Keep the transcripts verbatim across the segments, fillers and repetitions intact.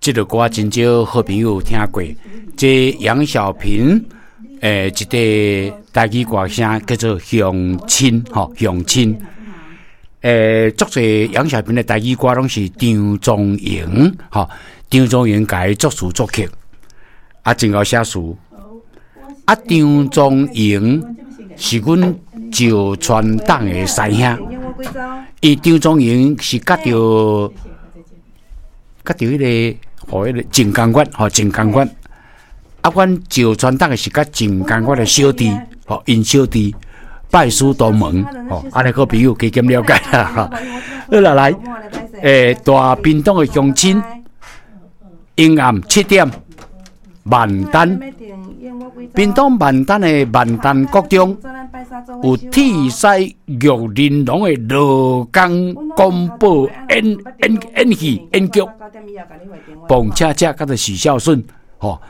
這个歌真少好朋友聽過。這楊小平誒，一個台語歌聲叫做《鄉親》吼，鄉親。誒，足濟楊小平的台語歌攏是張宗營吼，張宗營共伊作詞作曲，啊，真𠢕寫詞。啊，張宗營是阮石川董的師兄，伊張宗營是佮著佮著彼个，吼，彼个鄭江月，吼，鄭江月。啊，阮石川董的是佮鄭江月的小弟，吼，𪜶小弟拜師同門，吼，按呢好朋友加減了解啦，吼。好啦，來，欸，大屏東的鄉親，陰暗七點，萬丹，屏東萬丹的萬丹國中，有鐵獅玉玲瓏的羅江廣播演演演戲演劇，彭恰恰佮著許孝順，吼，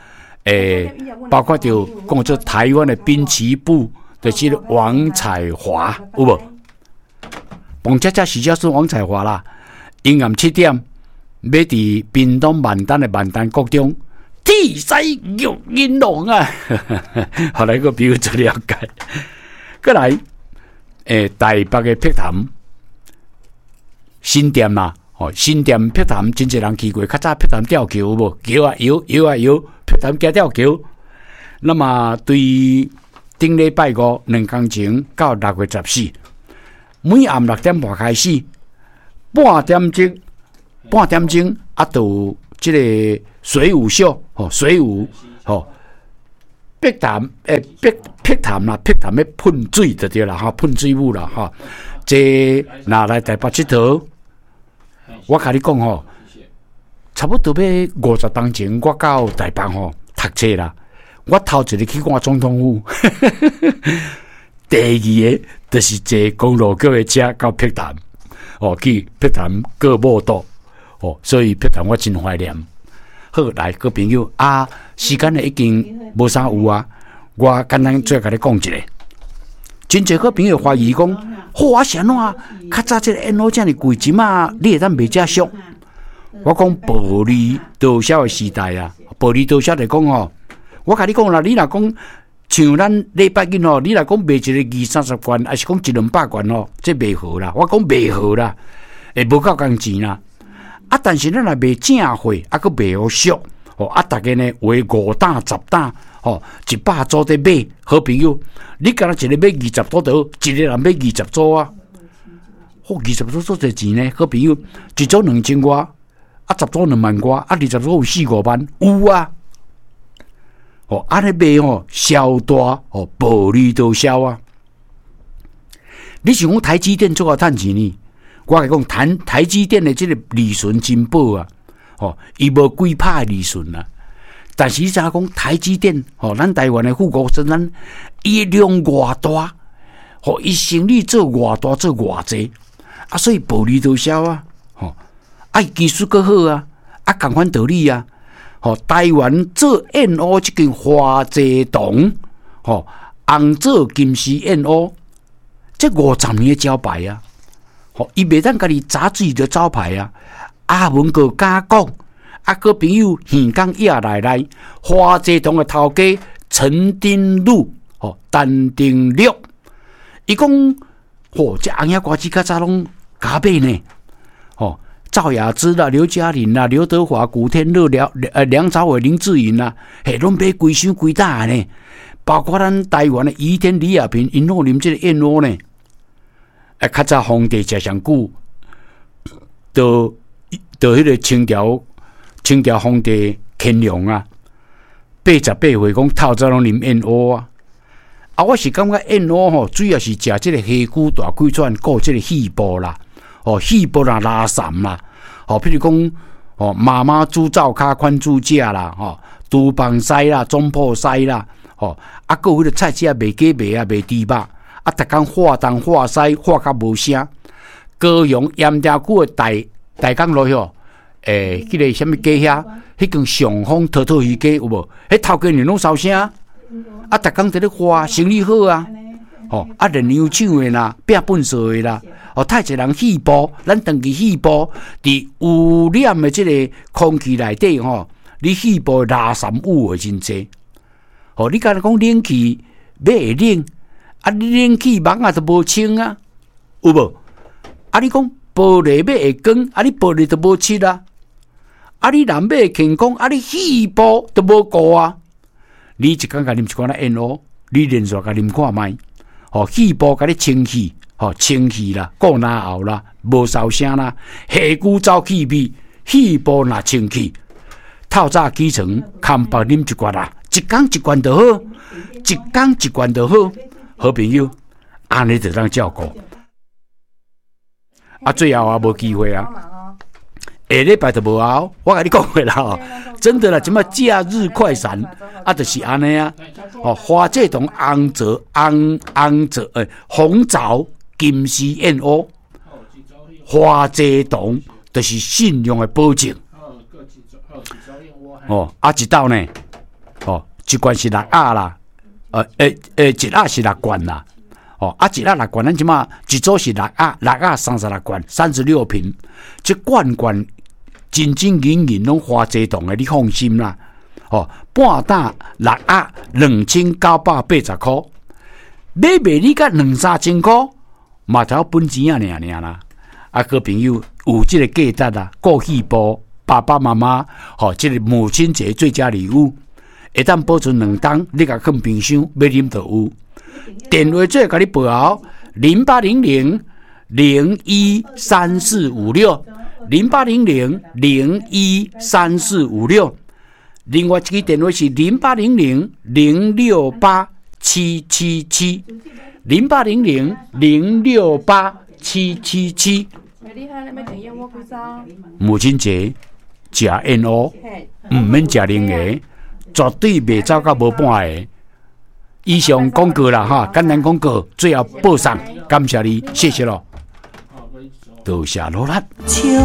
欸，包括著講做台灣的濱崎步，就是王彩華，有無？彭恰恰、許孝順、王彩華啦，陰暗七點，欲佇屏東萬丹的萬丹國中，鐵獅玉玲瓏啊！予來個朋友做了解。閣來，欸，台北的碧潭新店啦，吼，新店碧潭真濟人去過，較早碧潭吊橋有無？橋啊搖，搖啊搖，碧潭橋吊橋。那麼對頂禮拜五兩工前到六月十四，每暗六點半開始，半點鐘，半點鐘啊，就有這个水舞秀，吼，水舞，吼。碧潭，欸，碧碧潭啦，碧潭欲噴水就對啦，吼，噴水舞啦，吼。這若來台北𨑨迌，我共你講吼，差不多欲五十冬前，我到台北吼讀冊啦。我頭一个去看總統府，第二个就是坐公路局的車到碧潭，哦，去碧潭過午肚，哦，所以碧潭我真懷念。好，來，閣朋友啊，時間已經無啥有啊，我簡單再共你講一下。真濟好朋友懷疑講，好啊，是按怎？較早這个燕窩遮爾貴，這馬你會當賣遮俗？我講薄利多銷的時代啊，薄利多銷來講吼，我共你講啦，你若講像咱禮拜日吼，你若講賣一个二三十罐，抑是講一兩百罐吼，這袂好啦。我講袂好啦，會無夠工錢啦。啊，但是咱若賣正貨，啊，閣袂予俗，吼啊，逐家呢畫五擔十擔，吼一百組佇買，好朋友，你敢若一个買二十組就好，一个人買二十組啊，吼，二十組足濟錢呢，好朋友，一組兩千外，啊，十組兩萬外，啊，二十組有四五萬，有啊，吼，按呢賣吼，銷大，吼，薄利多銷啊。你想講台積電足𠢕趁錢呢？我共你講，台台積電的這个利潤真薄啊，吼，伊無幾趴的利潤啊。但是你知影講台積電，吼，咱台灣的護國神山，伊量偌大，吼，伊生意做偌大做偌濟，啊，所以薄利多銷啊，吼，啊，伊技術閣好啊，啊，仝款道理啊，吼，台灣做燕窩這間華濟堂，吼，紅棗金絲燕窩，這五十年的招牌啊。吼，伊袂當家己砸自己的招牌啊！阿文閣敢講，啊，閣朋友耳講野內內，華濟堂的頭家陳丁祿，吼，陳丁祿，伊講，吼，這紅影歌仔較早攏共買呢，吼，趙雅芝啦、劉嘉玲啦、劉德華、古天樂、梁呃梁朝偉、林志穎啦，嘿，攏買規箱規擔呢，包括咱台灣的余天、李亞平，𪜶攏啉這个燕窩呢。啊，較早皇帝食上久，到到彼个清朝，清朝皇帝乾隆啊，八十八歲講透早攏啉燕窩啊。啊，我是感覺燕窩吼，主要是食這個下龜大氣喘，顧這個肺部啦，哦，肺部若拉潲啦，吼，譬如講，吼，媽媽豬灶跤寬豬食啦，吼，廚房西啦，總鋪西啦，吼，啊，閣有彼個菜市仔賣雞賣啊，賣豬肉。啊！逐工喊東喊西，喊甲無聲。高雄鹽埕區的大大港路遐，欸，彼个啥物街遐，彼間上豐陶陶魚街有無？彼頭家娘攏梢聲。啊！逐工佇咧喊，生意好啊！吼，啊，煉油廠的啦，拚糞掃的啦，哦，太濟人肺部，咱長期肺部佇污染的這个空氣內底吼，你肺部垃圾物會真濟。哦，你敢若講冷氣欲會冷，啊，你冷氣網仔都無清啊，有無？啊，你講玻璃欲會光，啊，你玻璃都無漆啊。啊，你人欲會健康，啊，你肺部都無顧啊。你一工共啉一罐仔燕窩，你連續共啉看覓，吼，肺部共你清氣，吼，清氣啦，顧嚨喉啦，無嗽聲啦，下久走氣味，肺部若清氣，透早起床，空腹啉一罐啦，一工一罐就好，一工一罐就好，好朋友，按呢就當照顧。啊，最後啊，無機會啊。下禮拜就無啊！我共你講過啦，吼，真的啦，這馬假日快閃啊，就是按呢啊。哦，花這種紅棗、紅紅棗欸，紅棗金絲燕窩，花這糖就是信用的保證。哦，啊，一斗呢？哦，一罐是六盒啦，呃，欸欸，一盒是六罐啦。哦，啊，一盒六罐，咱這馬一組是六盒，六盒三十六罐，三十六瓶，這罐罐真真銀銀攏花濟糖的，你放心啦。哦，半擔六盒兩千九百八十箍，買賣你才兩三千箍，嘛才本錢仔爾爾啦。啊，好朋友有這个價值啊，顧肺部，爸爸媽媽，吼，這个母親節最佳禮物，會當保存兩冬，你共囥冰箱，欲啉就有。電話做共你報號，零八零零零一三四五六，零八零零零一三四五六。另外一支電話是零八零零零六八七七七，零八零零零六八七七七。母親節食燕窩，毋免食零个，絕對袂走到無半个。以上廣告啦，哈，簡單廣告，最後報送，感謝你，謝謝囉，多謝努力。